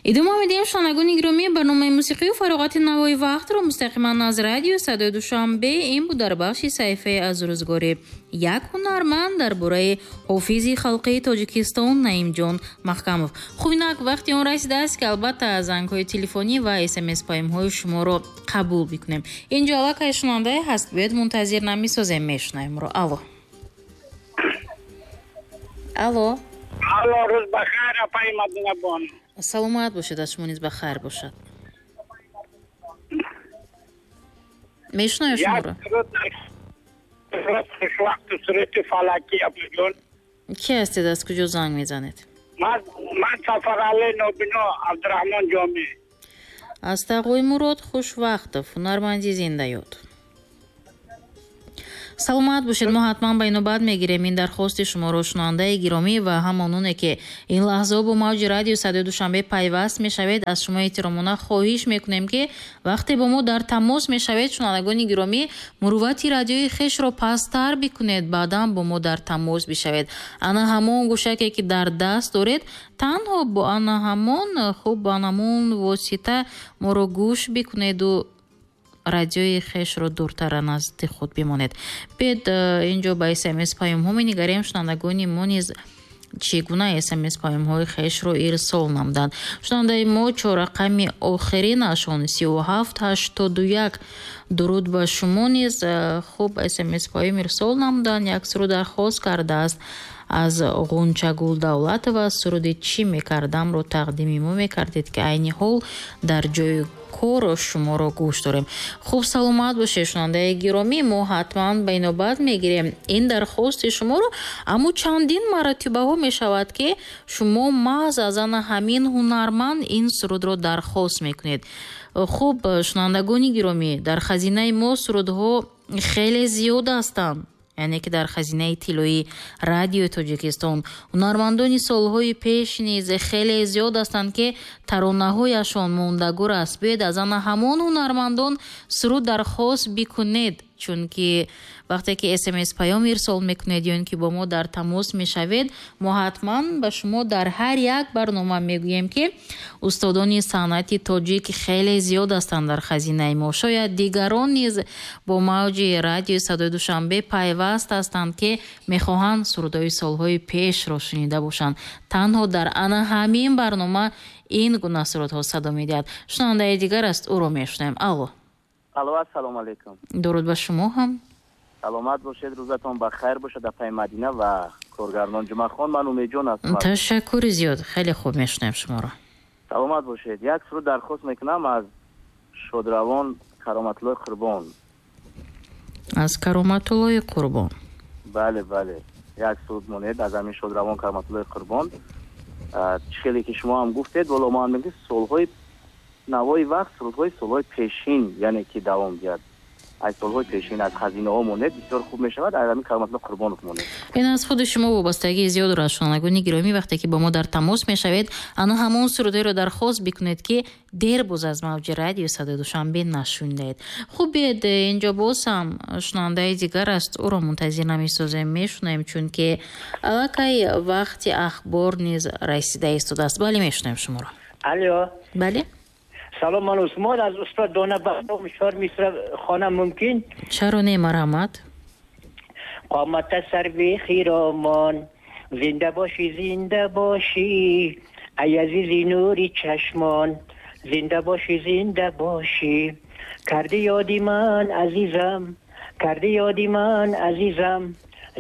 Идома медиҳем, шунавандагони гиромӣ, барномаи мусиқию фароғати Навои вақтро мустақиман аз радио Садои Душанбе. Ин буд дар бахши саҳифаи аз рӯзгори як ҳунарманд дар бораи ҳофизи халқии Тоҷикистон Наимҷон Маҳкамов. Хуб, инак вақти он расидааст, ки албатта зангҳои телефонӣ ва смс паёмҳои шуморо қабул бикунем. Инҷо аллакай шунавандае ҳаст, биёед мунтазир намесозем, мешунавемро. Алло, алло. Алло, рӯз бахайр, апаи Мадинабону. Саломат бошед, аз шумо низ бахайр бошад. Мешунавем шуморо. Хушвақту сурати фалакӣ, апаҷон. Ки ҳастед, аз куҷо занг мезанед? Ман Сафарали Нобино Абдураҳмон Ҷомӣ. Аз Тағои Мурод Хушвақтов, ҳунарманди зиндаёд. Саломат бошед, мо ҳатман ба инобат мегирем ин дархости шуморо, шунавандаи гиромӣ, ва ҳамононе ки ин лаҳзаҳо бо мавҷи радио Садои Душанбе пайваст мешавед, аз шумо эҳтиромона хоҳиш мекунем, ки вақте бо мо дар тамос мешавед, шунавандагони гиромӣ, муруввати радиои хешро пасттар бикунед, баъдан бо мо дар тамос бишавед. Ана ҳамон гӯшаке ки дар даст доред, танҳо бо ана ҳамон, хуб, бо ана ҳамон восита моро гӯш бикунеду радиои хешро дуртар назди худ бимонед. Биёед инҷо ба смс паёмҳо менигарем, шунавандагони мо низ чӣ гуна смс паёмҳои хешро ирсол намуданд. Шунавандаи мо чоррақами охиринашон 3781, дуруд ба шумо низ, хуб, смс паём ирсол намуданд. Як суруд дархост кардааст аз Ғунчагул Давлатова, суруди «Чӣ мекардам»-ро тақдими мо мекардед, ки айни ҳол дар ҷои кор шуморо гӯш дорем. Хуб, саломат бошед, шунавандаи гиромӣ, мо ҳатман ба инобат мегирем ин дархости шуморо, аммо чандин маротибаҳо мешавад, ки шумо маҳз аз ана ҳамин ҳунарманд ин сурудро дархост мекунед. Хуб, шунавандагони гиромӣ, дар хазинаи мо сурудҳо хеле зиёд ҳастанд, яъне ки дар хазинаи тиллоии радиои Тоҷикистон ҳунармандони солҳои пеш низ хеле зиёд ҳастанд, ки таронаҳояшон мондагор аст. Биёед аз ана ҳамон ҳунармандон суруд дархост бикунед, чунки вақте ки смс паём ирсол мекунед ё ин ки бо мо дар тамос мешавед, мо ҳатман ба шумо дар ҳар як барнома мегӯем, ки устодони санъати тоҷик хеле зиёд ҳастанд дар хазинаи мо. Шояд дигарон низ бо мавҷи радиои Садои Душанбе пайваст ҳастанд, ки мехоҳанд сурудҳои солҳои пешро шунида бошанд. Танҳо дар ана ҳамин барнома ин гуна сурудҳо садо медиҳад. Шунавандаи дигар аст, ӯро мешунавем. Алло. Алло, ассалому алайкум. Дуруд ба шумо ҳам. Саломат бошед, рӯзатон ба хайр бошад, апаи Мадина ва коргардон Ҷумъахон. Ман Умедҷон ҳастам. Ташаккури зиёд, хеле хуб мешунавем шуморо. Саломат бошед. Як суруд дархост мекунам аз шодравон Кароматуллои Қурбон. Аз Кароматуллои Қурбон. Бале, бале. Як суруд монед аз ҳамин шодравон Кароматуллои Қурбон. Чӣ хеле ки шумо ҳам гуфтед, вало мо ҳам мегӯем, солҳои Навои вақт сурудҳои солҳои пешин, яъне ки давом диҳад. Аз солҳои пешин, аз хазинаҳо монед, бисёр хуб мешавад, аз ҳамин Кароматулло Қурбонов монед. Ин аз худи шумо вобастагии зиёд дорад, шунавандагони гиромӣ, вақте ки бо мо дар тамос мешавед, ана ҳамон сурудҳоеро дархост бикунед, ки дер боз аз мавҷи радио Садои Душанбе нашунидаед. Хуб, биед, инҷо боз ҳам шунавандаи дигар аст, ӯро мунтазир намесозем, мешунавем, чунки аллакай вақти ахбор низ расида истодааст. Бале, мешунавем шуморо. Алло. Бале. Салом, ман Усмон аз устод Дона Баҳром чор мисра хонам мумкин? Чаро не, марҳамат. Қомат сарви хиромон, зинда бошӣ, зинда бошӣ, ай азизи нури чашмон, зинда бошӣ, зинда бошӣ, кардӣ ёди ман азизам, кардӣ ёди ман азизам,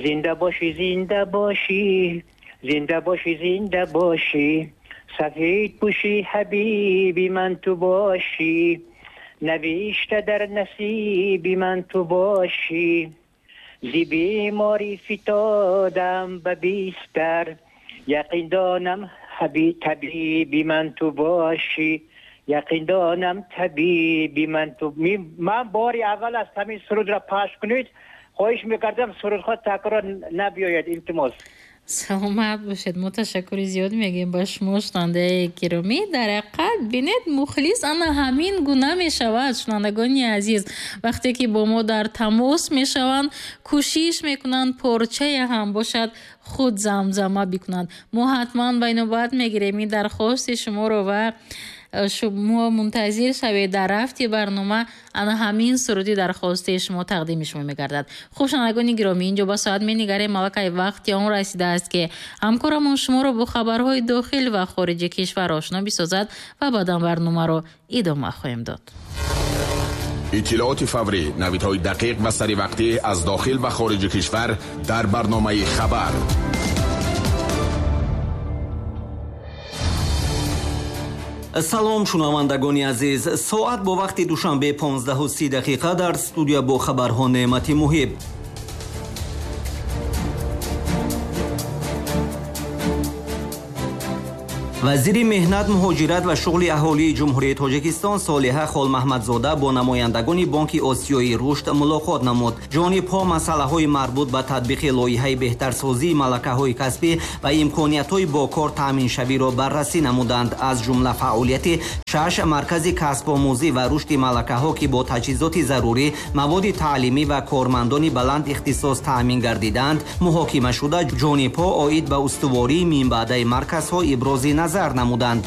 зинда бошӣ, зинда бошӣ, зинда бошӣ, зинда бошӣ, сафед пӯши ҳабиби ман ту бошӣ, навишта дар насиби ман ту бошӣ, зи беморӣ фитодам ба бистар, яқин донам табиби ман ту бошӣ, яқин донам табиби ман ту. Ман бори аввал аст ҳамин сурудро пахш кунед, хоҳиш мекардам сурудҳо такрор набиёяд, илтимос. Саломат бошед. Мо ташаккури зиёд мегӯем ба шумо, шунавандаи гиромӣ. Дар ҳақиқат, бинед, мухлис ана ҳамин гуна мешавад, шунавандагони азиз. Вақте ки бо мо дар тамос мешаванд, кӯшиш мекунанд порчае ҳам бошад худ замзама бикунанд. Мо ҳатман ба инобат мегирем ин дархости шуморо ва шумо мунтазир шавед, дар рафти барнома ана ҳамин суруди дархости шумо тақдими шумо мегардад. Хуб, шунавандагони гиромӣ, инҷо ба соат менигарем, аллакай вақти он расидааст, ки ҳамкорамон шуморо бо хабарҳои дохил ва хориҷи кишвар ошно бисозад ва баъдан барномаро идома хоҳем дод. Иттилооти фаврӣ, навидҳои дақиқ ва саривақтӣ аз дохил ва хориҷи кишвар дар барномаи хабар. Салом, шунавандагони азиз. Соат бо вақти Душанбе 15:30, дар студия бо хабарҳо Неъмати Муҳиб. Вазири меҳнат, муҳоҷират ва шуғли аҳолии Ҷумҳурии Тоҷикистон Солиҳа Холмаҳмадзода бо намояндагони Бонки Осиёии Рушд мулоқот намуд. Ҷонибҳо масъалаҳои марбут ба татбиқи лоиҳаи беҳтарсозии малакаҳои касбӣ ва имкониятҳои бо кор таъминшавиро баррасӣ намуданд. Аз ҷумла фаъолияти шаш маркази касбомӯзӣ ва рушди малакаҳо, ки бо таҷҳизоти зарурӣ, маводи таълимӣ ва кормандони баланд ихтисос таъмин гардиданд, муҳокима шуда, ҷонибҳо оид ба устувории минбаъдаи марказҳо ибрози назар намуданд.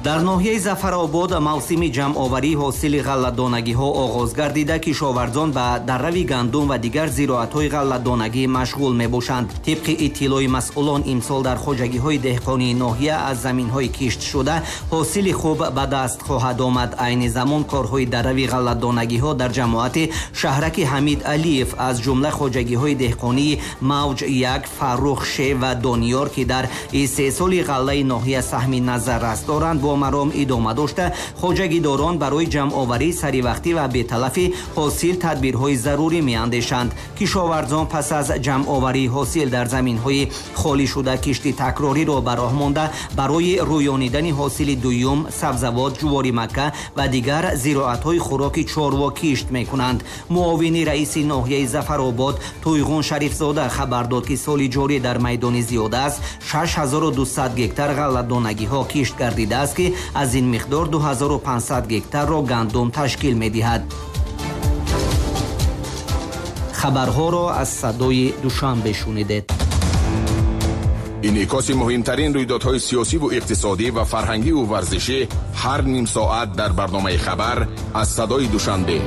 Дар ноҳияи Зафаробод мавсими ҷамъоварии ҳосили ғалладонагиҳо оғоз гардида, кишоварзон ба даррави гандум ва дигар зироатҳои ғалладонагӣ машғул мебошанд. Тибқи иттилои масъулон, имсол дар хоҷагиҳои деҳқонии ноҳия аз заминҳои киштшуда ҳосили хуб ба даст хоҳад омад. Айни замон корҳои даррави ғалладонагиҳо дар ҷамоати шаҳраки Ҳамид Алиев, аз ҷумла хоҷагиҳои деҳқонии Мавҷ 1, Фаррух Ше ва Дониёр, ки дар истеҳсоли ғаллаи ноҳия саҳми назаррас доранд, бо маром идома дошта, хоҷагидорон барои ҷамъоварии саривақтӣ ва беталафи ҳосил тадбирҳои зарурӣ меандешанд. Кишоварзон пас аз ҷамъоварии ҳосил дар заминҳои холӣ шуда кишти такрориро ба роҳ монда, барои рӯёнидани ҳосили дуюм сабзавот, ҷувори макка ва дигар зироатҳои хӯроки чорво кишт мекунанд. Муовини раиси ноҳияи Зафаробод Туйғун Шарифзода хабар дод, ки соли ҷорӣ дар майдони зиёда аз 6200 гектар ғалладонагиҳо кишт гардидааст, ки аз ин миқдор 2500 гектарро гандум ташкил медиҳад. Хабарҳоро аз садои Душанбе шунидед. Инъикоси муҳимтарин рӯйдодҳои сиёсиву иқтисодӣ ва фарҳангиву варзишӣ ҳар ним соат дар барномаи хабар аз садои Душанбе.